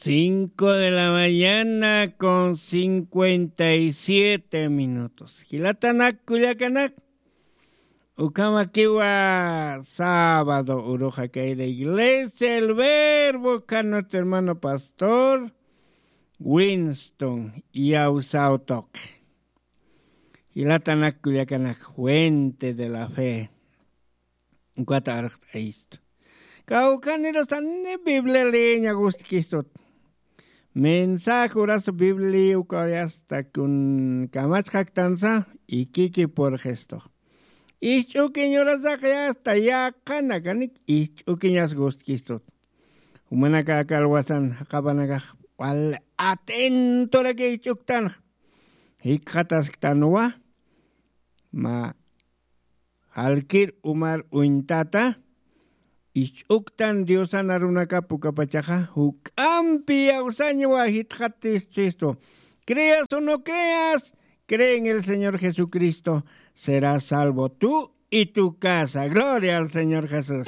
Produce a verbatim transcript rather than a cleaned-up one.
Cinco de la mañana con cincuenta y siete minutos. Jilatanak kullakanak, ukhamakiwa sábado uruxa kayra iglesia El Verbo, kan nuestro hermano pastor Winston Yawsaw Toque. Jilatanak kullakanak, fuente de la fe. Ukata arxt'ayistu. Kawkhanirusani Biblia leeña gustkistut. Mensaje urasu Biblia ukawayasta kun kamachxaktansa, ikiki purxistux. Isch'ukiñ urasax yasta yaqhanakanik isch'ukiñas gustkistut. Jumanaka aka alwasan jaqapanakax wal atentoraki isch'uktanxa. Jikxatasktanwa mä jalkir umar uñtata, isch'uktan Diosan arunakap ukapachaxa juk'ampi yawsañwa jitxatistu. Creas o no creas, cree en el Señor Jesucristo, serás salvo tú y tu casa. Gloria al Señor Jesús.